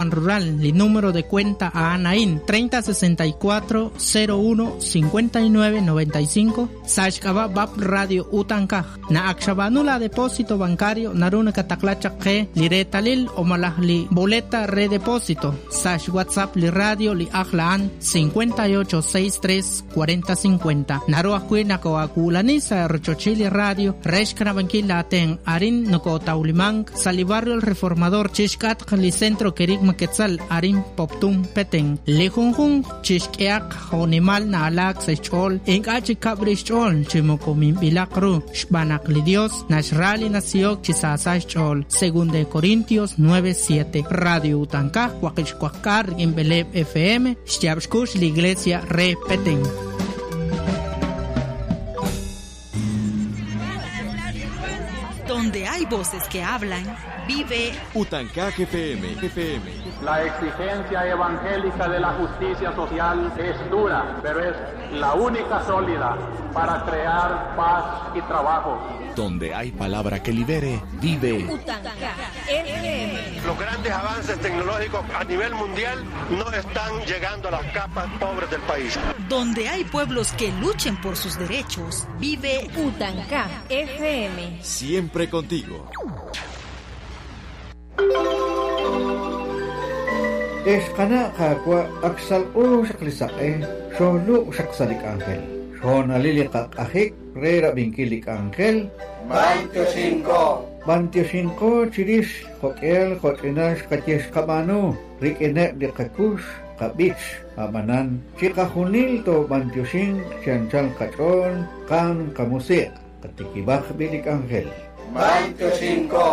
Rural, li número de cuenta a Anaín 3064 01 59 95 Sashkaba Bab Radio Utankaj na Akshabanula depósito bancario Naruna Kataklacha G Liretalil o Malahli Boleta Redepósito Sash WhatsApp li Radio li Ajlaan 58 63 40 50 Naru Akwina Koakulanisa Rochochili Radio Reshkanabankila Aten Arin Nokotaulimang Salibarrio El Reformador Chishkat li Centro Kerigma Quetzal Arin Poptum Peten Lejunjun Chishkeak Jonimal Naalak Sechol Inkachi Kabrichol Chimokomin Bilakru Shbanak li Dios Nashrali Nasiok Chisasachol Según de Corintios 9:7 Radio Utanka Huaquishcuacar en Beleb FM Xtiabxcush la Iglesia Re Petén. Donde hay voces que hablan, vive Utancaj FM, FM. La exigencia evangélica de la justicia social es dura, pero es la única sólida para crear paz y trabajo. Donde hay palabra que libere, vive Utancaj FM. Los grandes avances tecnológicos a nivel mundial no están llegando a las capas pobres del país. Donde hay pueblos que luchen por sus derechos, vive Utancaj FM. Siempre contigo. Exqana qaqwa aksalqu xaqlisaqe xolu xaqsalik ángel. Xonalili qaqajik rera binkilik ángel. Bantioxinko. Bantioxinko chirix jokel jochinax qatyex qabanu rik'ineb li qakux qabich abanan chiqajunil to bantioxin chanchal qach'ol qan qamusiq qatikibaj bilik ángel. Bantioxinko.